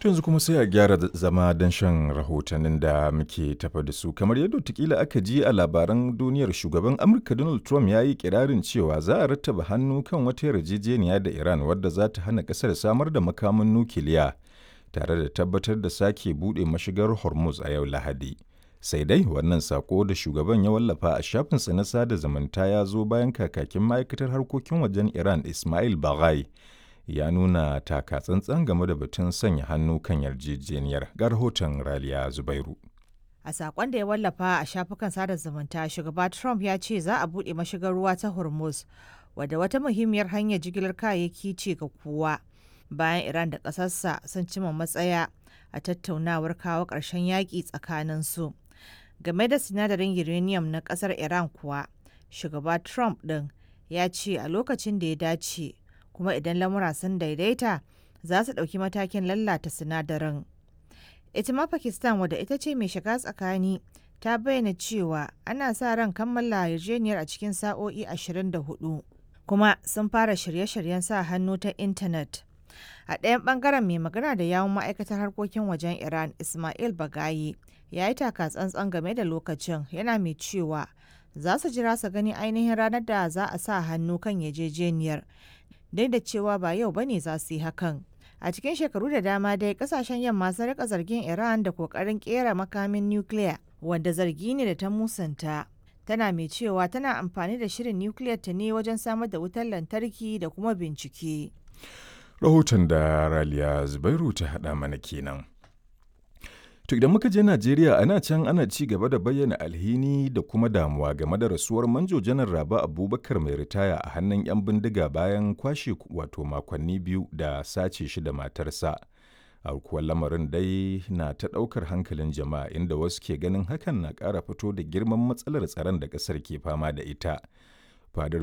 To yanzu kuma sai a gyara zama don shan rahotannin da muke tafa da su. Kamar yadda watakila aka ji a labaran duniyar, shugaban Amurka Donald Trump ya yi kirarin cewa za a rattaba hannu kan wata yarjejeniya da Iran wadda za ta hana kasar samar da makamin nukiliya tare da tabbatar da sake buɗe mashigar Hormuz a yau Lahadi. Sai dai wannan sako da shugaban ya wallafa a shafinsa na sada zumunta ya zo bayan kakakin ma'aikatar harkokin wajen Iran Ismail Baghai ya nuna taka tsantsan game da batun sanya hannu kan yarjejeniyar. Ga rahoton Raliya Zubairu. A sakon da ya wallafa a shafukan sada zumunta, shugaba Trump ya ce za a buɗe mashigar ruwa ta Hormuz, wadda wata muhimmiyar hanyar jigilar kayayyaki ce ga kowa, bayan Iran da ƙasarsa sun cima matsaya a tattaunawar kawo ƙarshen yaƙi tsakanin su. Game da sinadarin uranium na ƙasar Iran kuwa, shugaba Trump ɗin ya ce a lokacin da ya dace kuma idan lamura sun daidaita, za su ɗauki matakin lalata sinadarin. Ita ma Pakistan, wadda ita ce mai shiga tsakani, ta bayyana cewa ana sa ran kammala yarjejeniyar a cikin sa'o'i 24, kuma sun fara shirye-shiryen sa hannu ta intanet. A ɗayan ɓangaren, mai magana da yawun ma'aikatar harkokin wajen Iran Ismail Bagayi ya yi taka tsantsan game da lokacin, yana mai cewa za su jira su gani ainihin ranar da za a sa hannu kan yarjejeniyar, duk da cewa ba yau bane za su yi hakan. A cikin shekaru da dama dai kasashen yamma sun rika zargin Iran da kokarin kera makamin nukiliya, wanda zargi ne da ta musanta. Tana mai cewa tana amfani da shirin nukiliyar ta ne wajen samar da wutar lantarki da kuma bincike. Rahoton da Raliya Zubairu ta haɗa mana kenan. To idan muka je Najeriya, ana can ana ci gaba da bayyana alhini da kuma damuwa game da rasuwar Manjo Janar Rabe Abubakar mai ritaya a hannun 'yan bindiga bayan kwashe wato makonni 2 da sace shi da matarsa. Aukuwar lamarin dai na ta ɗaukar hankalin jama'a, inda wasu ke ganin hakan na ƙara fito da girman matsalar tsaron da ƙasar ke fama da ita. Fadar